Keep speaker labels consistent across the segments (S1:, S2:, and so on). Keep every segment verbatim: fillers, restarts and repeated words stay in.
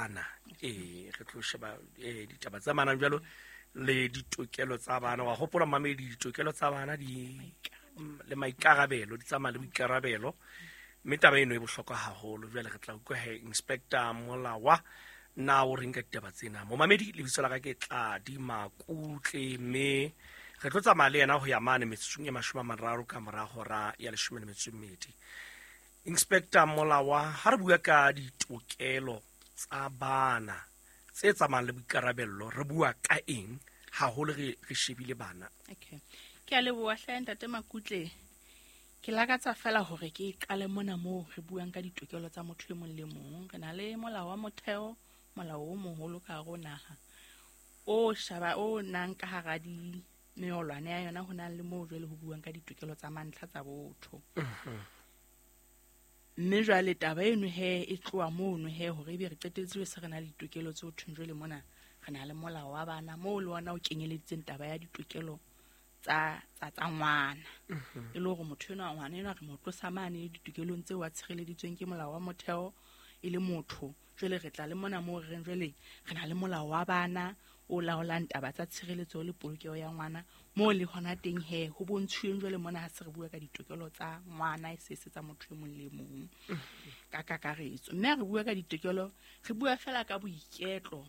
S1: bana. Eh re tlo sheba eh ditaba tsa bana jwalo le ditokelo tsa bana. Wa hopola mamedi ditokelo tsa bana di le maikarabelo di tsamaya le boikarabelo. Mme taba eno e bohlokwa haholo. Jwale re tla utlwa he Inspector Molawa na o reng ka ditaba tsena. Momamedi lebitso la ka ke Tladi Makutle, mme re tlo tsamaya le yena ho ya mane metsotsong e mashome a mararo ka mora hora ya leshome le metso e mmedi. Inspector Molawa, ha re bua ka ditokelo tsa bana tse tsamayang le boikarabello, re bua ka eng haholo re re shebile bana?
S2: Okay. Ke a leboha hle ntate Makutle. Ke lakatsa fela hore ke qale mona moo re buang ka ditokelo tsa motho e mong le mong. Re na le molao wa motheo, molao o moholo ka hare ho naha o shaba o nang ka hara di meolwane ya yona, ho nang le moo jwale ho buang ka ditokelo tsa mantlha tsa botho. Mme jwale taba eno he e tloha mono he hore ebe re qetelletse se re na le ditokelo tse ho thweng jwale mona re na le molao wa bana moo le ona o kenyeleditseng taba ya ditokelo tsa tsa tsa ngwana. E le hore motho enwa ngwana enwa re mo tlosa mane ditokelong tseo a tshireleditsweng ke molao wa motheo e le motho. Jwale re tla le mona moo re reng jwale re na le molao wa bana o laolang taba tsa tshireletso le polokeho ya ngwana, moo le hona teng he ho bontshweng jwale mona ha se re bua ka ditokelo tsa ngwana e se se tsa motho e mong le mong ka kakaretso. Mme ha re bua ka ditokelo re bua fela ka boiketlo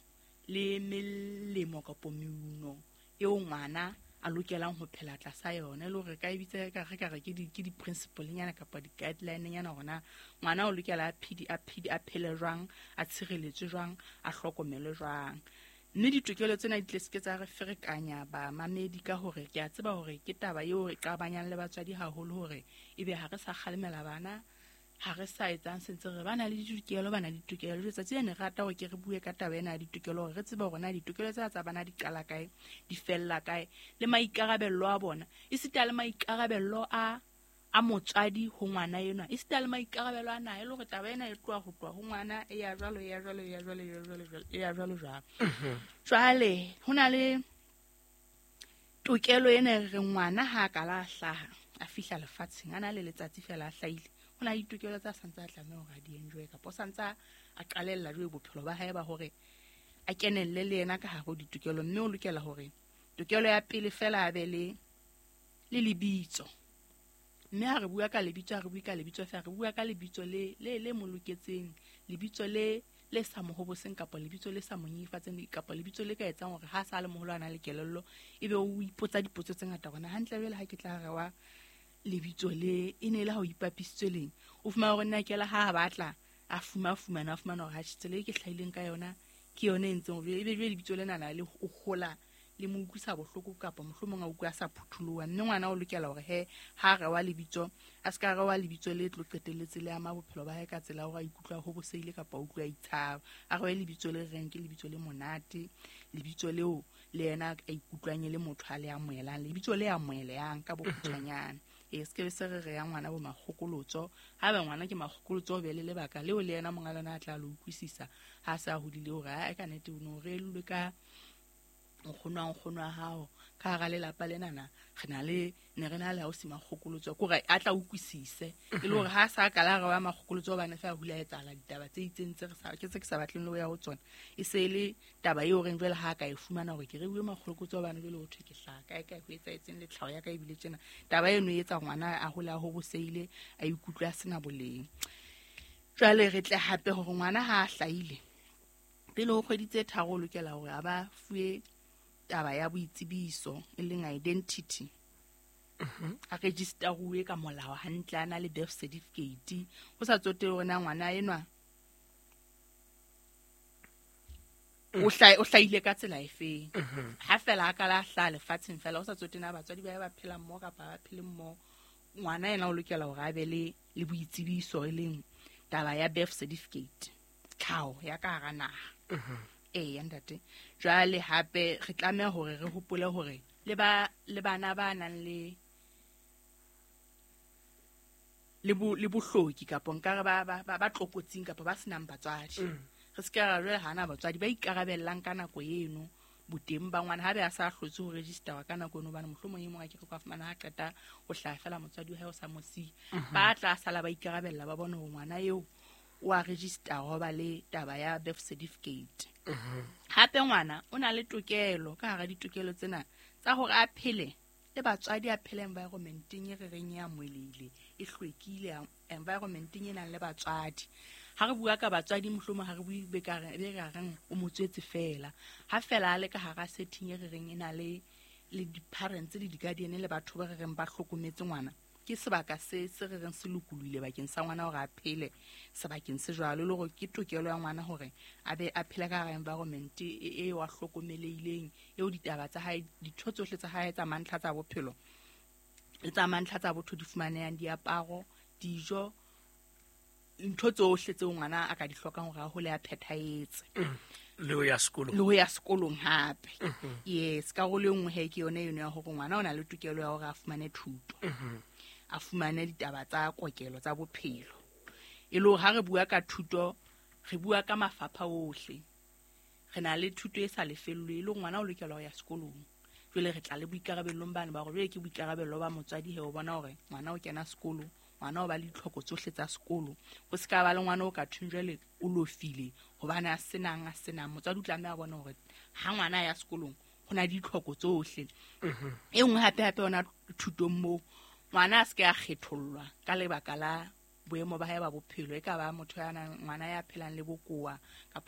S2: le melemo kapa meuno eo ngwana a lokelang ho phela tlasa yona, e le hore re ka e bitsa ka re ka re ke di ke di-principle nyana kapa di-guideline nyana hore na ngwana o lokela a phedi a phedi a phele jwang, a tshireletswe jwang, a hlokomelwe jwang. Mme ditokelo tsena di tle se ke tsa re ferekanya bamamedi ka hore ke a tseba hore ke taba eo re qabanyang le batswadi haholo hore ebe ha re sa kgalemela bana, ha re sa etsang sentse re ba na le ditokelo, ba na le ditokelo. Letsatsi lena re rata hore ke re bue ka taba ena ya ditokelo hore re tsebe hore na ditokelo tsena tsa bana di qala kae, di fella kae, le maikarabello a bona, esita le maikarabello a a motswadi ho ngwana enwa, esita le maikarabelo a naha, e le hore taba ena e tloha ho tloha ho ngwana e ya jwalo, e ya jwalo, e ya jwalo, e ya jwalo, e ya jwalo jwalo. Jwale ho na le tokelo ena e reng ngwana ha a kala a hlaha, a fihla lefatsheng, a na le letsatsi fela a hlahile, ho na le ditokelo tsa santse a tlameha hore a di enjoy kapa o santse a qalella jwale bophelo ba hae ba hore a kenelle le yena ka hare ho ditokelo. Mme o lokela hore tokelo ya pele fela a be le le lebitso. Mme ha re bua ka lebitso, ha re bue ka lebitso fela, re bua ka lebitso le le le mo loketseng, lebitso le le sa mo hoboseng kapa lebitso le sa mo nyenyefatseng kapa lebitso le ka etsang hore ha sa le moholo a na le kelello ebe o ipotsa dipotso tse ngata hore na hantle jwale ha ke tla rewa lebitso le e ne le ha o ipapisitswe leng. O fumana hore nna ke la ha a batla a fuma fumana a fumana hore ha tsela e ke hlahileng ka yona ke yona e entseng hore ebe jwale lebitso lena na le o hola le mo utlwisa bohloko kapa mohlomong a utlwa a sa phutholoha. Mme ngwana o lokela hore he ha rewa lebitso a se ka rewa lebitso le tlo qetelletse le ama bophelo ba hae ka tsela ya hore a ikutlwa ho boseile kapa a utlwa a itshaba. A rewe lebitso le reng ke lebitso le monate, lebitso leo le yena a ikutlwang e le motho a le amohelang, lebitso le amohelehang ka bokgutshwanyane. E se ke se re re ya ngwana bo makgokolotso, ha ba ngwana ke makgokolotso o be le lebaka leo le yena monga lona a tla le utlwisisa ha sa hodile hore ha ka nnete o no re ka nkgono wa nkgono wa hao ka hara lelapa lenana re na le ne re na le ausi makgokolotso, ke hore a tla utlwisise e le hore ha sa kala re wa makgokolotso hobane fa hula etsahala ditaba tse itseng tse re sa ke tse ke sa batleng le ho ya ho tsona, e se e le taba eo reng jwale ha ka e fumana hore ke re bue makgokolotso hobane jwale ho thwe ke hlaha kae kae ho etsahetseng le tlhaho ya ka ebile tjena. Taba eno e etsa ngwana a hole a hoboseile, a ikutlwe a sena boleng. Jwale re tle hape hore ngwana ha a hlahile pele ho kgwedi tse tharo o lokela hore a ba fuwe taba ya boitsebiso e leng identity, a registeruwe ka molao hantle, a na le birth certificate, ho sa tsotelle hore na ngwana enwa o hlae o hlahile ka tsela efeng. Ha fela a kala hlaha lefatsheng fela, ho sa tsotelle na batswadi ba ba phela mmoho kapa ba phele mmoho, ngwana yena o lokela hore a be le le boitsebiso e leng taba ya birth certificate, tlhaho ya ka hara naha. Ee ntate. Jwale hape re tlameha hore re hopole hore le ba le bana ba nang le le bo le bohloki kapa nkare ba ba ba tlokotsing kapa ba senang batswadi. Re se ke ra jwale hana batswadi ba ikarabellang ka nako eno boteng ba ngwana, ha be a sa hlotse ho register ka nako eno, hobane mohlomong e mong a ke re ka fumana ha qeta ho hlaha fela motswadi wa hae o sa mo siya, ba tla sala ba ikarabella ba bone hore ngwana eo o a register ho ba le taba ya birth certificate. Hape ngwana o na le tokelo ka hara ditokelo tsena tsa hore a phele le batswadi, a phele environmenteng e re reng e amohelehile, e hlwekile, environmenteng e nang le batswadi. Ha re bua ka batswadi, mohlomong ha re bue be ka re be ka reng o mo tswetse fela. Ha fela a le ka hara setting e re reng e na le le di-parents le di-guardian le batho ba re reng ba hlokometse ngwana, ke sebaka se se re reng se lokolohile bakeng sa ngwana hore a phele sebakeng se jwalo, le hore ke tokelo ya ngwana hore a be a phele ka hara environment e e wa hlokomelehileng, eo ditaba tsa hae, ditho tsohle tsa hae tsa mantlha tsa bophelo le tsa mantlha tsa botho di fumanehang, diaparo, dijo, ntho tsohle tseo ngwana a ka di hlokang hore a hole a phethahetse.
S1: Le ho ya sekolong.
S2: Le ho ya sekolong hape. Yes, karolo e nngwe he ke yone eno ya hore ngwana o na le tokelo ya hore a fumane thuto, a fumane ditaba tsa kokelo tsa bophelo. E le hore ha re bua ka thuto, re bua ka mafapha ohle. Re na le thuto e sa lefellweng, e le hore ngwana o lokela ho ya sekolong. Jwale re tla le boikarabellong bane ba hore jwale ke boikarabello ba motswadi he ho bona hore ngwana o kena sekolo, ngwana o ba le ditlhoko tsohle tsa sekolo. Ho se ka ba le ngwana o ka thweng jwale o lofile hobane a senang a senang. Motswadi o tlameha a bone hore ha ngwana a ya sekolong ho na le ditlhoko tsohle. E nngwe hape hape yona thutong moo, ngwana a se ke a kgethollwa ka lebaka la boemo ba hae ba bophelo. E ka ba motho ya nang, ngwana ya phelang le bokowa kapa